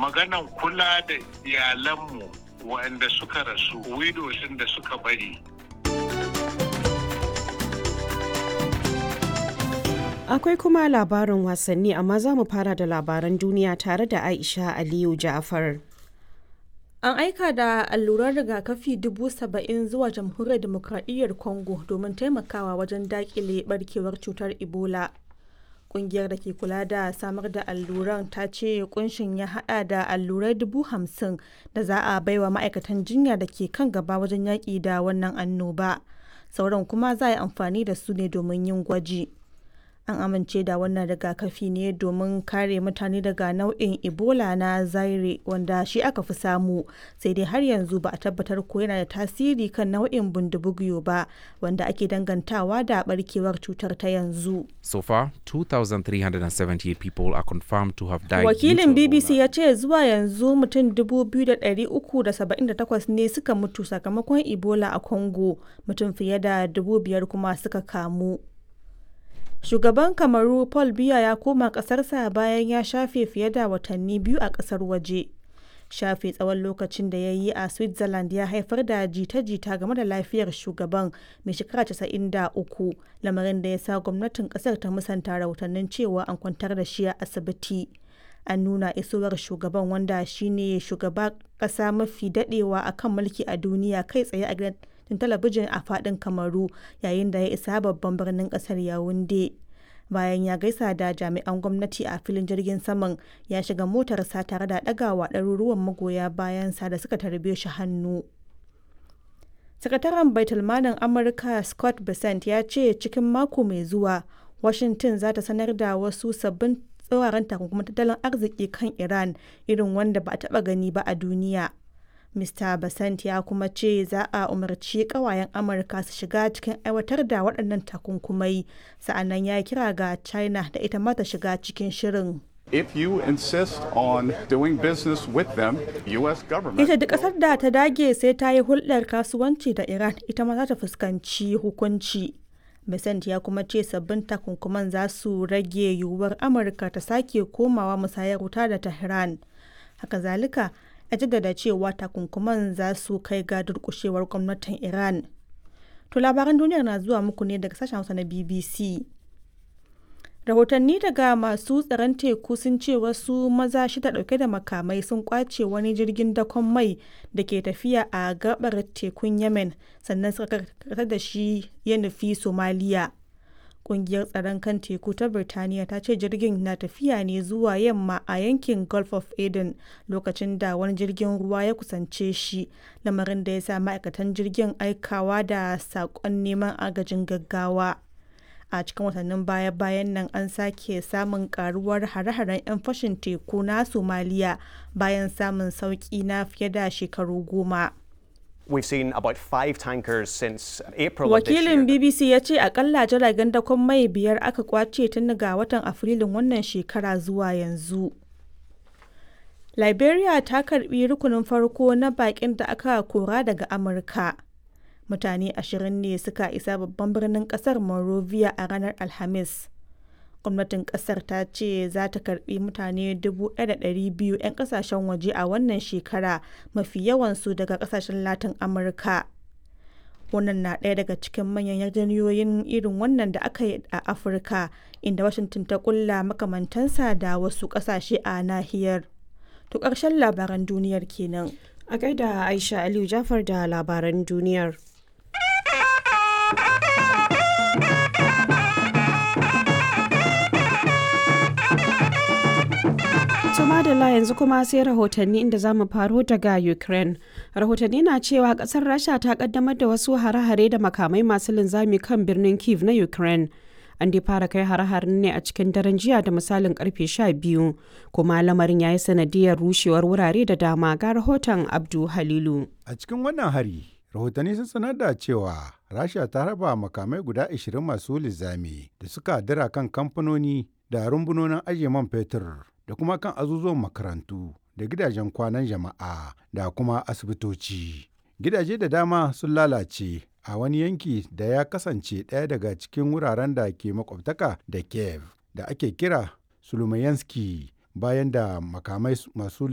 Maganan kula da iyalanmu waɗanda suka rasu, widows da suka bari. Akwai kuma labarin wasanni, amma za mu fara da labaran duniya tare da Aisha Aliyu Ja'far. An aika da alluran rigakafi 70,000 zuwa Jamhuriyar Dimokradiyyar Congo domin taimakawa wajen dakile barkewar cutar Ebola. Kungiyar da ke kula da samar da alluran ta ce kunshin ya hada da allurai 50,000 da za a baiwa ma'aikatan jinya da ke kan gaba wajen yaƙi da wannan annoba. Sauran kuma za a yi amfani da su ne domin yin gwaji. An amince da wannan rigakafi ne domin kare mutane daga nau'in Ebola na Zaire wanda shi aka fi samu, sai dai har yanzu ba a tabbatar ko yana da tasiri kan nau'in Bundibugyo ba wanda ake dangantawa da barkewar cutar ta yanzu. So far, 2,378 people are confirmed to have died. Wakilin BBC ya ce zuwa yanzu mutum 2,378 ne suka mutu sakamakon Ebola a Congo, mutum fiye da 5,000 kuma suka kamu. Shugaban Kamaru Paul Biya ya koma ƙasarsa bayan ya shafe fiye da watanni 2 a ƙasar waje. Shafe tsawon lokacin da ya yi a Switzerland ya haifar da jita-jita game da lafiyar shugaban mai shekara 93, lamarin da ya sa gwamnatin ƙasar ta musanta rahotannin cewa an kwantar da shi a asibiti. An nuna isowar shugaban, wanda shine shugaba ƙasa mafi daɗewa a kan mulki a duniya, kai tsaye a gidan talabijin a fadin Kamaru yayin da ya isa babban birnin kasar Yaounde. Bayan ya gaisa da jami'an gwamnati a filin jirgin saman, ya shiga motarsa tare da ɗagawa ɗaruruwan magoya bayansa da suka tarbe shi hannu. Sakataren Baitulmalin Amurka Scott Bessent ya ce cikin mako mai zuwa Washington za ta sanar da wasu sabbin tsauraran takunkuman tattalin arziki kan Iran irin wanda ba a taɓa gani ba a duniya. Mr. Bessent ya kuma ce za a umarci kawayen Amurka su shiga cikin aiwatar da waɗannan takunkumai, sa'annan ya kira ga China da ita ma ta shiga cikin shirin. If you insist on doing business with them, U.S. government. Ita duk ƙasar da ta dage sai ta yi hulɗar kasuwanci da Iran, ita ma za ta fuskanci hukunci. Bessent ya kuma ce sabbin takunkuman za su rage yiwuwar Amurka ta sake komawa musayar wuta da Tehran. Haka zalika, ya jaddada cewa takunkuman za su kai ga durkushewar gwamnatin Iran. To, labaran duniyar na zuwa muku ne daga sashen Hausa na BBC. Rahotanni daga masu tsaron teku sun ce wasu maza shida dauke da makamai sun kwace wani jirgin dakon mai da ke tafiya a gabar tekun Yemen, sannan suka karkatar da shi ya nufi Somaliya. Kungiyar tsaron kan teku ta Birtaniya ta ce jirgin na tafiya ne zuwa yamma a yankin Gulf of Aden lokacin da wani jirgin ruwa ya kusance shi, lamarin da ya sa ma'aikatan jirgin aikawa da saƙon neman agajin gaggawa. A cikin watannin baya-bayan nan an sake samun karuwar hare-haren 'yan fashin teku na Somaliya bayan samun sauki na fiye da shekaru 10. We've seen about five tankers since April of this year. Wakilin BBC ya ce akalla jiragen dakon mai biyar aka kwace tun daga watan Afrilun wannan shekara zuwa yanzu. Liberia ta karbi rukunin farko na bakin da aka kora daga Amurka. Mutane 20 ne suka isa babban birnin kasar Monrovia a ranar Alhamis. Gwamnatin kasar ta ce za ta karbi mutane 1,200 'yan kasashen waje a wannan shekara, mafi yawansu daga kasashen Latin Amurka. Wannan na ɗaya daga cikin manyan yarjejeniyoyin irin wannan da aka yi a Afirka, inda Washington ta kulla makamantansa da wasu ƙasashe a nahiyar. To, ƙarshen labaran duniyar kenan. A gaida Aisha Aliyu Jafar da labaran duniyar. To madalla, yanzu kuma sai rahotanni, inda za mu faro daga Ukraine. Rahotanni na cewa kasar Rasha ta kaddamar da wasu hare-hare da makamai masu linzami kan birnin Kiev na Ukraine. An dai fara kai hare-haren ne a cikin daren jiya da misalin karfe 12, kuma lamarin ya yi sanadiyar rushewar wurare da dama. Ga rahoton Abdu Halilu. A cikin wannan hari, rahotanni sun sanar da cewa Rasha ta raba makamai guda 20 masu linzami da suka dira kan kamfanoni da rumbunonin ajiye man fetur da kuma kan azuzuwan makarantu da gidajen kwanan jama'a da kuma asibitoci. Gidaje da dama sun lalace a wani yanki da ya kasance ɗaya daga cikin wuraren da ke makwabtaka da Kiev da ake kira Sulumayanski bayan da makamai masu